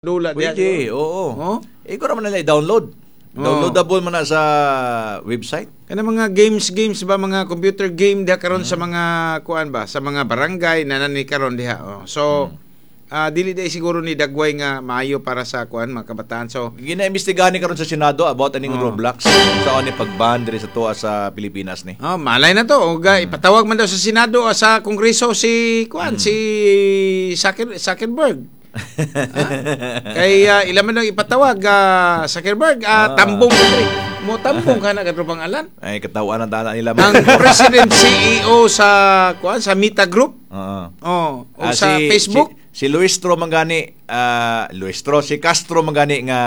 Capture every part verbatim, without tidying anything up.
Dula diha. Pwede, oo. Oh? Ikaw naman nila i-download. Oo. Downloadable man na sa website. Kana mga games games ba, mga computer game diha karon sa Mm. mga kuan ba, sa mga barangay na nani karon diha. Oh. So Mm. ah, dili dai siguro ni dagway nga maayo para sa kuan, mga kabataan. So Gina-imbestigahan ni karon sa Senado about aning Oo. Roblox. Sa ni pag-ban diri sa tuwa sa Pilipinas ni. Oh, malay na to. O, ga, ipatawag man daw sa Senado o sa Kongreso si kuan, Mm. si Zucker, Zuckerberg. Ah? Kay uh, ila man daw ipatawag, ah, Zuckerberg, ah, Ah. tambong ka diri. Mo tambong ka na, katropang Alan. Ay, katawan ang dana nila. Ang president C E O sa kuan, sa Meta Group. Oo. Oh, o Ah, sa si- Facebook. Si, si Luistro mangani, ah, Luistro, si Castro mangani nga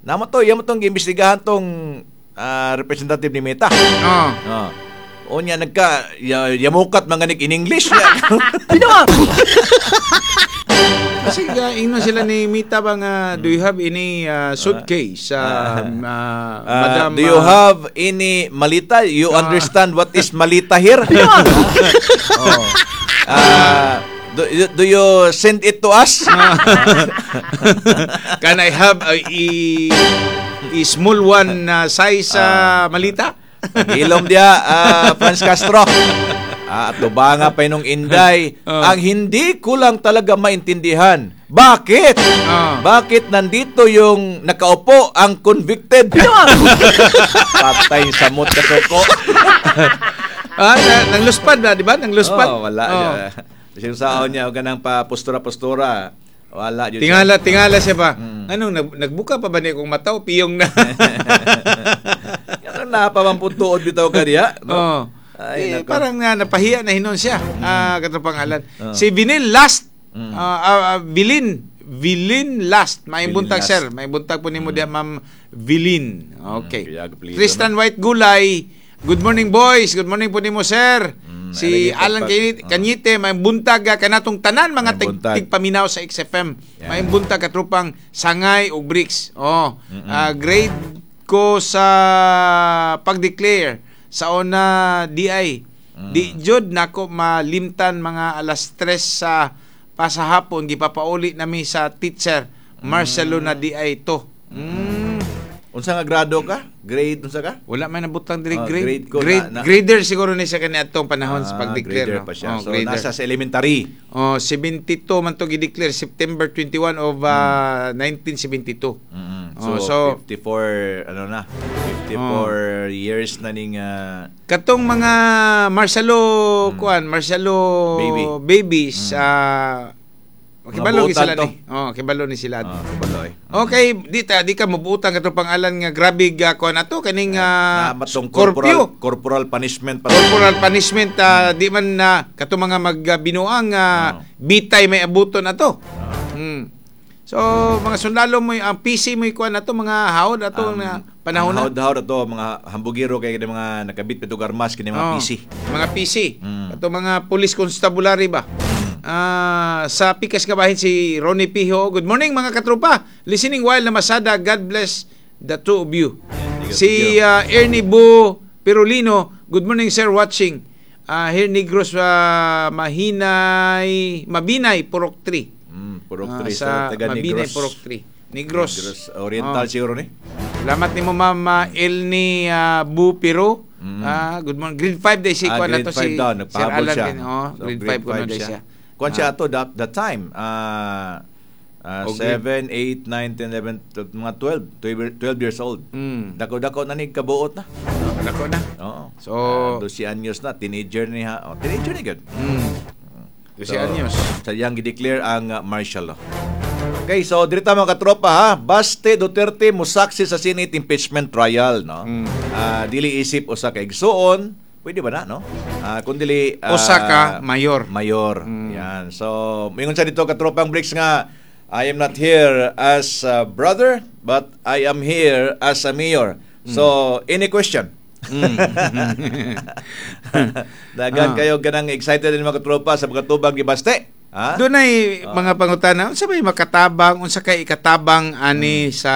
namo to, iya mo tong giimbestigahan tong ah, representative ni Meta. Oh. Oh. Unya nagka ya, yamukat manganik in English niya. Kasi uh, ingnon sila ni Meta ba nga, "Do you have any uh, suitcase, uh, uh, Ah, Madam?" "Do you uh, have any malita? You Ah. understand what is malita here?" Oh. Ah, do, do you send it to us?" "Can I have a, a, a small one uh, size uh, malita?" Ilom dia, ah, Franz Castro. Ah, at lubanga pa nung Inday. Oh. Ang hindi ko lang talaga maintindihan, bakit? Oh. Bakit nandito yung nakaupo ang convicted? Patay samot ka soko. Ah, na, nang luspad ba, di ba? Nang luspad. Oh, wala. Oh. Sinusaon niya, huwag ka nang pa postura-postura. Wala. Yun Tingala, siya. tingala siya ba? Mm. Anong nag, nagbuka pa ba niya kung mataw piyong na? Yan ang napamamputuod bitaw ka diya. No? Oh. Ay, Eh, nako. parang na napahiya na hinon siya. Ah, katong Alan. Oh. Si Vinil Last. Mm. Ah, ah, ah, Vilin. Vilin Last. May Vilin buntag, Last. sir. May buntag po nimo diha, Ma'am Vilin. Okay. Mm, kaya apelyido, Tristan White Gulay. Good morning, boys. Good morning po nimo, sir. Mm, Si alagi Alan pagpag- Kanyete, oh. Kanyete, may buntag ah, kanatong tanan mga May tig, buntag. tigpaminaw sa X F M. Yeah. May buntag, katrupang Sangay ug Bricks. Oh, Mm-mm. ah, grade ko sa pag-declare sa ona D I. Mm. Di jud nako malimtan, mga alas tres sa pasahapon gipapauli nami sa teacher Marcelo na D I to. Mm. Unsa nga grado ka? Grade unsa ka? Wala man nabutang diri Ah, grade. grade ko Grade, na- na- grader siguro ni siya kaniadtong panahon sa Ah, pag-declare. grader No? pa siya. Oh, So grader. nasa sa elementary. Oh, seventy-two man to gi-declare September twenty-one of uh, nineteen seventy-two. Mm-mm. Oh, So, so- fifty-four ano na? fifty-four years na ning ah, Katong mga Marcelo kuan, Marcelo Baby. Babies, ah, Mga kibalo ni buotan sila to. ni. Oh, kibalo ni sila. Ah, kabalo eh. Okay, di ta di ka mabutan katong pangalan nga grabe ga kuan ato kaning uh, Na matong Scorpio. corporal corporal punishment pa. Corporal punishment, ah, di man na katong mga magbinuang uh, Oh. bitay may abuton ato. Mm. So mga sundalo mo, ang P C mo kuan ato, mga hawd ato Ang- na panahon na. Hawd-hawd ato, mga hambugiro kay kini mga nakabit pito armas kini mga Oh, P C. mga P C. Mm. Ato mga police constabulary ba? Ah, sa Pikas Kabahin si Ronnie Piho. Good morning, mga katropa. Listening while na masada. God bless the two of you. Thank you, Si thank you. ah, Ernie Bo Pirulino. Good morning, sir, watching. Ah, here Negros, ah, Mahinay, Mabinay, Purok three. Mm, Purok Ah, three sa sa taga Mabinay, Negros. Purok three. Negros. Negros Oriental Oh. siguro ni. Salamat nimo, Ma'am ah, Elni ah, Bu Piro. Mm. Ah, good morning. Grade five day si Ah, kuan na grade to five si daw, Sir nagpahabol Alan siya. din. Oh, So, grade five kuno day siya. Kuan siya ato that, that time. Ah, ah, Oh, grade- seven, eight, nine, ten, eleven, twelve, mga twelve, twelve, twelve years old. Mm. Dako-dako na ni kabuot na. Dako na. Oo. So, Ah, twelve anyos na, teenager ni ha. Oh, teenager ni gud. mm. twelve anyos. Sa iyang gideclare ang uh, martial law. Okay, so dirita, mga katropa, ha, Baste Duterte musaksi sa Senate impeachment trial, no? Mm. Ah, dili isip usa ka igsuon, pwede ba na, no? Ah, kun dili ah, Usa ka mayor. Mayor. Mm. Yan. So, mingon sa dito, katropang Bricks, nga "I am not here as a brother, but I am here as a mayor." So, any question? Mm. Dagan Ah. kayo ganang excited din, mga katropa, sa mga tubag ni Baste. Ha? Dunay mga pangutana, unsa may makatabang, unsa kay ikatabang ani sa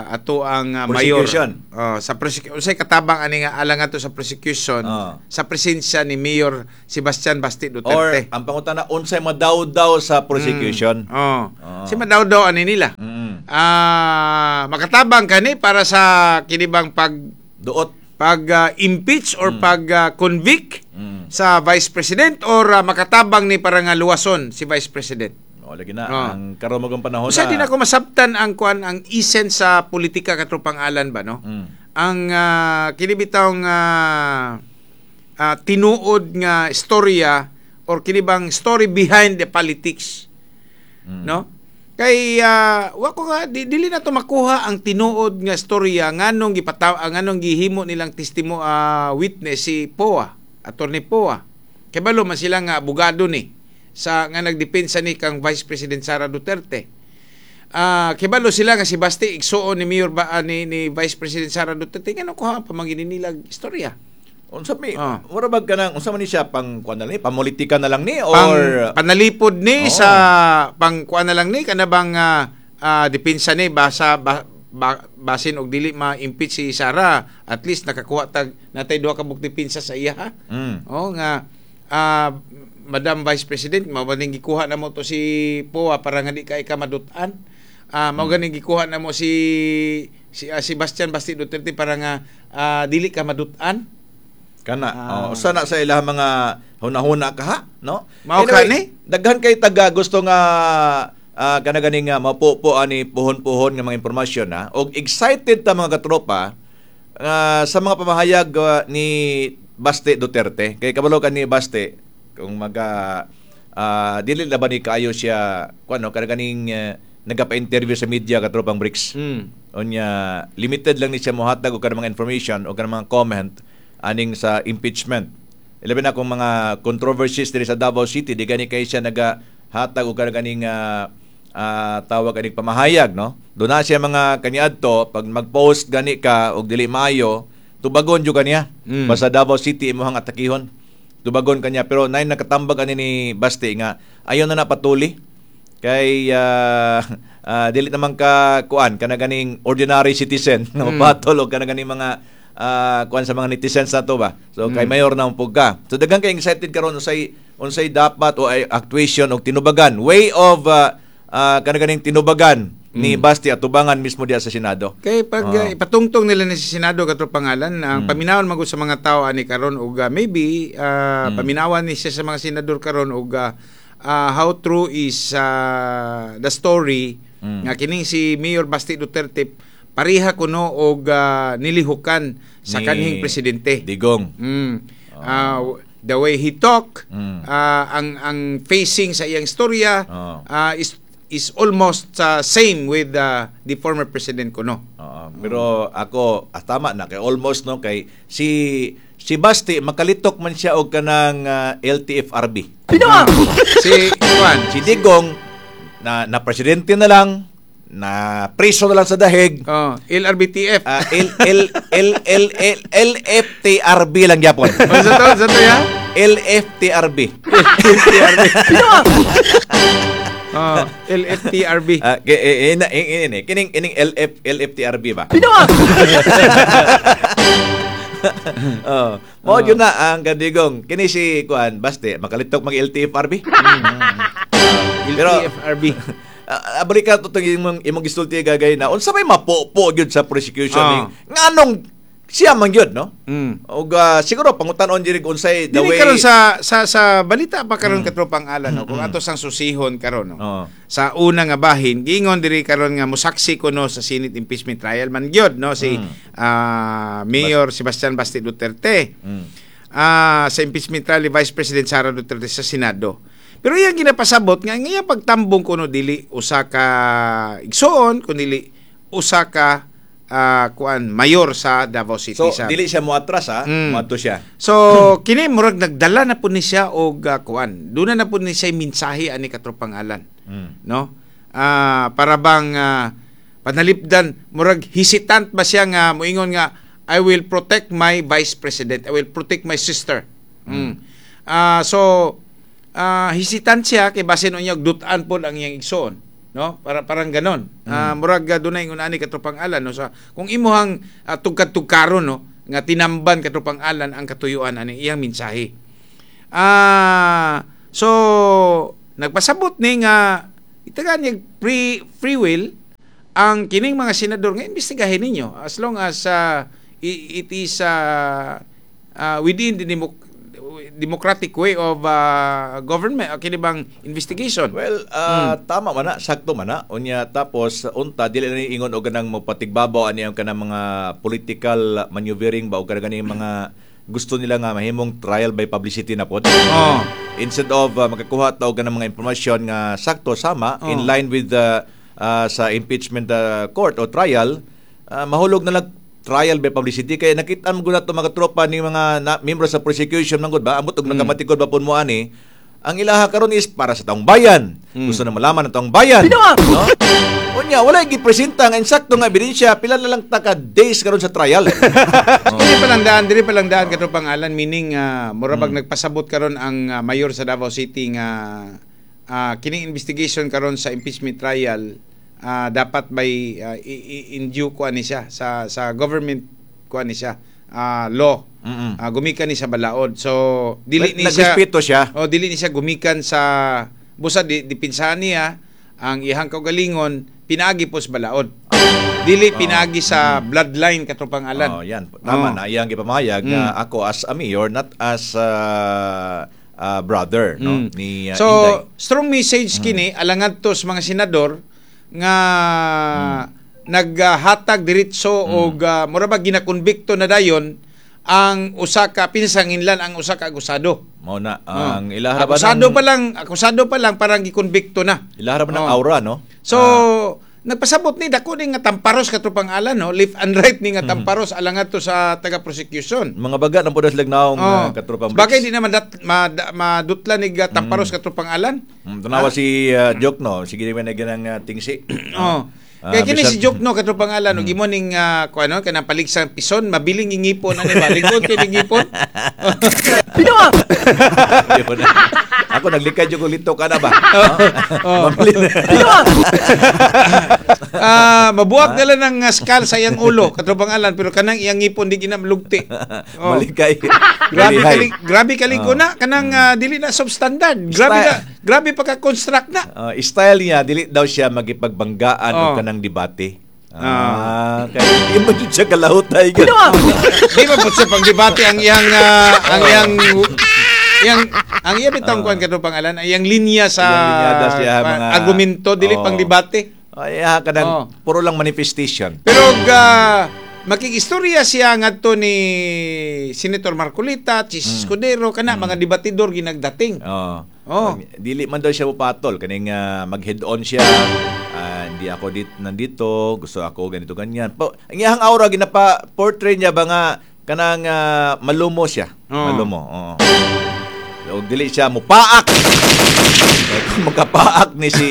ato ang uh, mayor? Prosecution. Oh, sa prosecution, unsay katabang ani nga alang ato sa prosecution Oh. sa presensya ni Mayor Sebastian Basti Or Duterte? Ang pangutana, unsay madawdaw sa prosecution? Oh. Oh. Si madawdaw ani nila. Mm. Ah, makatabang kani para sa kinibang pag Duot. Pag ah, impeach or pag ah, convict Mm. sa Vice President or ah, makatabang ni para nga luwason si Vice President? O, lagi na Oh. ang karon magong panahon Usa na. din ako masabtan ang kuan, ang essence sa politika, katropang Alan ba, no? Mm. Ang uh, kini bitawng ah, ah, tinuod nga istorya or kini bang story behind the politics. Mm. No? Kay ah, wa ko nga di, dili na to makuha ang tinuod nga istorya nganong gipataw ang nganong gihimo nilang testimo ah, witness si Poa, Attorney Poa. Kay balo man sila nga abogado ni sa nga nagdepensa ni kang Vice President Sara Duterte. Ah, kibalo sila nga si Basti igsuon ni Mayor ba, ah, ni, ni Vice President Sara Duterte, ngano kuha ang pamanginin nila istorya? Unsa may Ah. mura bag kanang unsa man ni siya, pang kuan na lang ni, pamulitika na lang ni Pang or panalipod ni Oo. sa pang kuan na lang ni kana bang ah, ah, depensa ni basa ba, ba, basin og dili ma-impeach si Sara, at least nakakuha tag natay duha ka buok depensa sa iya, ha. Mm. Oh, nga ah, Madam Vice President, mao ba ning gikuha na mo to si Poa para nga di ka ika madutan? Ah, mao ganing gikuha na mo si si ah, Sebastian Basti Duterte para nga ah, dili ka madutan. Kana, Ah. oh, usa na sa ilang mga hunahuna ka ha, no? Mao ka ni? Daghan kay taga gusto nga uh, kana ganing nga mapupo ani puhon-puhon nga mga impormasyon ha. Og excited ta, mga katropa, ah, sa mga pamahayag ah, ni Baste Duterte. Kay kabalo ka ni Baste kung maga ah, dili na ba ni kaayo siya kuno kana ganing uh, nagapa-interview sa media, katropang Bricks. Mm. Unya limited lang ni siya mohatag og kanang mga information o kanang mga comment aning sa impeachment. Ilabi na kung mga controversies diri sa Davao City, di gani kay siya nagahatag og kanang ganing ah, ah, tawag aning pamahayag, no? Doon na siya mga kaniadto, pag mag-post gani ka og dili maayo, tubagon jud kaniya. Mm. Basta Davao City imong atakihon. Tubagon kanya, pero nay nakatambag ani ni Basti nga ayon na napatuli kay ah, ah, dili naman ka kuan kana ganing ordinary citizen nga Mm. mapatol og kana ganing mga ah, kuan sa mga netizens na to ba. So kay Mm. mayor na pug ka. So daghan kay excited karon unsay unsay dapat o ay actuation og tinubagan, way of uh, kana ganing tinubagan ni Mm. Basti atubangan mismo diya sa Senado. Kay pag Oo. uh, ipatungtong nila ni sa Senado, katro pangalan, ang Mm. paminawon magud sa mga tao ani karon og uh, maybe uh, Mm. paminawan ni siya sa mga senador karon og uh, uh, how true is uh, the story Mm. nga kining si Mayor Basti Duterte pareha kuno og uh, nilihukan sa Ni kanhing presidente. Digong. Mm. Ah, the way he talk, Mm. ah, ang ang facing sa iyang istorya Oo. ah, is is almost ah, same with ah, the former president kuno. Oo, pero ako ah, tama na kay almost, no, kay si si Basti makalitok man siya og kanang ah, L T F R B. Si Juan, Si Digong na na presidente na lang, na preso na lang sa dahig. Oh, L R B T F. Ah, L L L L L L F T R B lang gyapon. Oh, sa to, sa to ya? L F T R B. Oh, L F T R B. Ah, ke- eh, eh, na- eh, eh, eh, kining ining L F L F T R B ba? Oh, mao jud na ang kadigong. Kini si kuan Baste makalitok mag L T F R B. Pero L T F R B. Ah, uh, balik ka to imong imong gisulti gagay na unsa may mapopo gyud sa prosecution Ah. ni nganong siya man gyud, no? Mm. Og ah, siguro pangutan-on diri kung unsay the Dili way karon sa sa sa balita pa karon, katropang Alan, no, kung ato sang susihon karon, no. Oo. Sa una nga bahin, giingon diri karon nga musaksi kuno sa Senate impeachment trial man gyud, no, si Mm. ah, Mayor Sebastian Basti Duterte. Mm. Ah, sa impeachment trial ni Vice President Sara Duterte sa Senado. Pero iyang ginapasabot nga ang iyang pagtambong kuno dili usa ka igsoon kun dili usa ka ah, kuan, mayor sa Davao City. So sa dili siya moatras ha, Mm. moadto siya. So kini murag nagdala na po ni siya og ah, kuan. Duna na po ni siya mensahe ani, katropang Alan. Mm. No? Ah, para bang ah, panalipdan, murag hesitant ba siya nga moingon nga "I will protect my vice president. I will protect my sister." Mm. Ah, so ah, hesitant siya kay basin unya og dut-an pod ang iyang igsoon, no? Para parang ganon. Ah, murag uh, dunay ingon ani, katropang Alan, no, sa kung imuhang uh, tugkad-tugkaron, no, nga tinamban, katropang Alan, ang katuyuan ani iyang mensahe. Ah, so nagpasabot ni nga itagaan niya free free will ang kining mga senador nga imbestigahin ninyo as long as uh, i- it is uh, uh, within the democ- democratic way of uh, government, uh, kini bang investigation. Well, ah, tama man na, sakto man na. Unya tapos unta dili na ni ingon og kanang mopatigbabaw ani ang kanang mga political maneuvering ba o kanang ganing mga gusto nila nga mahimong trial by publicity na pod. Oh. Instead of uh, makakuha ta og kanang mga impormasyon nga sakto sama Oh. in line with the uh, sa impeachment uh, court o trial, uh, mahulog na lang trial by publicity kay nakita mo gud to, mga tropa, ni mga na, membro sa prosecution man gud ba, amot og mm. nagkamatikod ba pud mo ani, ang ilaha karon is para sa taong bayan. Mm. Gusto na malaman ng taong bayan, no? Unya wala gipresenta nga insakto nga ebidensya, pila na lang ta ka days karon sa trial. Oh. Dili pa lang daan, dili pa lang daan, katropang Alan, meaning uh, mura bag nagpasabot karon ang ah, mayor sa Davao City nga ah, kining investigation karon sa impeachment trial ah, dapat by ah, i- i- in due kuan ni siya sa sa government kuan ni siya ah, law. Mm-mm. Ah, gumikan ni sa balaod. So dili Well, ni siya nagrespeto siya. Oh, dili ni siya gumikan sa busa di, dipinsahan niya ang iyang kaugalingon pinaagi po sa balaod. Dili pinaagi sa bloodline, katropang Alan. Oh, yan. Tama Oh. na iyang gipamahayag nga Mm. ako as a mayor, not as a, a brother, no, Mm. ni uh, So, Inday. Mm. strong message kini alangan to sa mga senador nga Mm. naghatag diretso og uh, mura ba ginakonbikto na dayon ang usa ka pinsanginlan ang usa ka akusado. Mao na Oh. ang ilaha ba Akusado ng pa lang, akusado pa lang parang gikonbikto na. Ilaha ba ng Oh. aura, no? So, nagpasabot ni dako ni nga tamparos, katropang Alan, no, left and right ni nga Mm. tamparos alangan to sa taga prosecution. Mga baga ng pudas lagnaong Oh. uh, katropang Bagay Briggs. di naman dat, ma, madutla ni ga tamparos, katropang Alan. Mm, tanawa si uh, Diokno, sige naman na ganang uh, tingsi. Oh. Ah, Kaya kini bisan- si Diokno, katropang Alan, mm. imo ning uh, kuano kanang paligsang pison, mabiling ngipon ani ba? Likod kay ning ngipon. Di ba na? Ako naglikay jud ko lito ka na ba? Oh. Mabilin. Ah, mabuak dala ng uh, skull sa iyang ulo, katropang Alan, pero kanang iyang ngipon di ginamlugti. Oh. Malikay. Grabe Malihay. kali grabe kaliko na kanang ah, dili na substandard. Grabe Style. na, grabe pagka construct na. Uh, style niya dili daw siya magipagbanggaan Oh. o kanang debate. Ah, kay di mo jud siya kalahutay. Gyud. Di ba po siya pang debate ang iyang ah, ang iyang iyang ang iya bitong kuan, katropang Alan, ang iyang linya sa Iyang linyada siya, pa- mga- argumento dili Oh. pang debate. Ay, ah, kanang Oh. puro lang manifestation. Pero ga makikistorya siya ngadto ni Senator Marcoleta, Chis Escudero, kana mga debatidor ginagdating. Oh. Oh. Dili man daw siya mupatol kaning ah, mag head on siya. Ah, hindi ako dit nandito, gusto ako ganito ganyan. Pa, ang iyang aura ginapa portray niya ba nga kanang ah, malumo siya. Oh. Malumo. Oo. Og dili siya mupaak. Kaya kung magkapaak ni si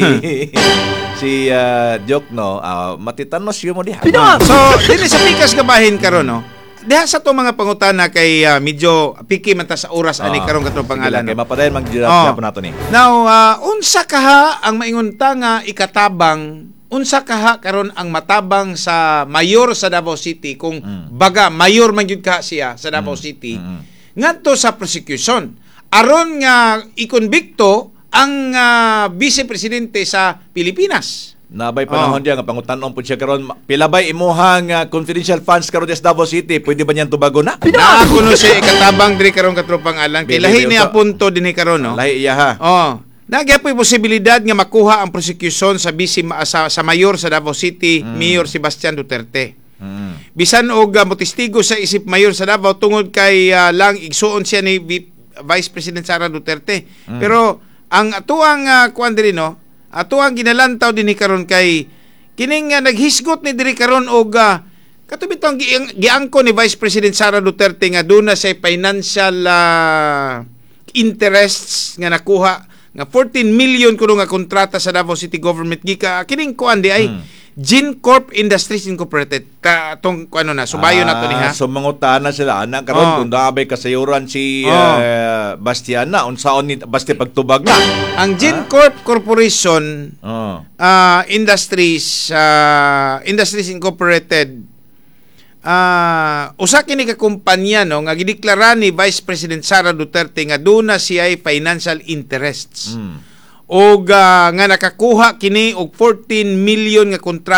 si uh, Diokno, ah, matitanos yun mo diha. So, dili sa pikas gabahin karon, no. Diha sa to mga pangutana kay ah, medyo piki man ta sa oras ani Ah, karon, katong sige lang, pangalan. Kay No? mapadayon mag Oh. po nato ni. Now, ah, unsa kaha ang maingon ta nga ikatabang, unsa kaha karon ang matabang sa mayor sa Davao City kung Mm. baga mayor man gyud ka siya sa Davao City Mm. ngadto sa prosecution aron nga ikonbikto ang ah, vice presidente sa Pilipinas? Nabay panahon Oh. diya nga pangutan-on pud siya karon. Pila bay imuhang ah, confidential funds karon sa Davao City? Pwede ba niyan tubago na? Naa kuno siya ikatabang diri karon, katropang Alan, kay Bili, lahi bili, ni unta. punto dinhi karon, no. Lahi iya ha. Oh. Nagyapoy posibilidad nga makuha ang prosecution sa vice sa, sa mayor sa Davao City, Mayor Sebastian Duterte. Mm. Bisan og uh, motestigo sa isip mayor sa Davao tungod kay ah, lang igsuon siya ni V- Vice President Sara Duterte. Pero ang atuang uh, kuan diri, no, atuang ginalantaw dinhi karon kay kining uh, naghisgot ni diri karon og uh, kato bitong gi- giangko ni Vice President Sara Duterte nga duna sa financial ah, interests nga nakuha nga fourteen million kuno nga kontrata sa Davao City Government gika kining kuan di ay Mm. Gincorp Industries Incorporated. Ka, tong ano na, subayo na to niya. Ah, so mangutana sila ana karon Oh. kung naa bay kasayuran si Oh. eh, Bastiana, unsaon ni Basti pagtubag na. Ang Gincorp Corporation Oh. ah, Industries ah, Industries Incorporated, ah usa kini ka kumpanya, no, nga gideklara ni Vice President Sara Duterte nga duna siya financial interests Mm. og ah, nga nakakuha kini og fourteen million nga kontrata.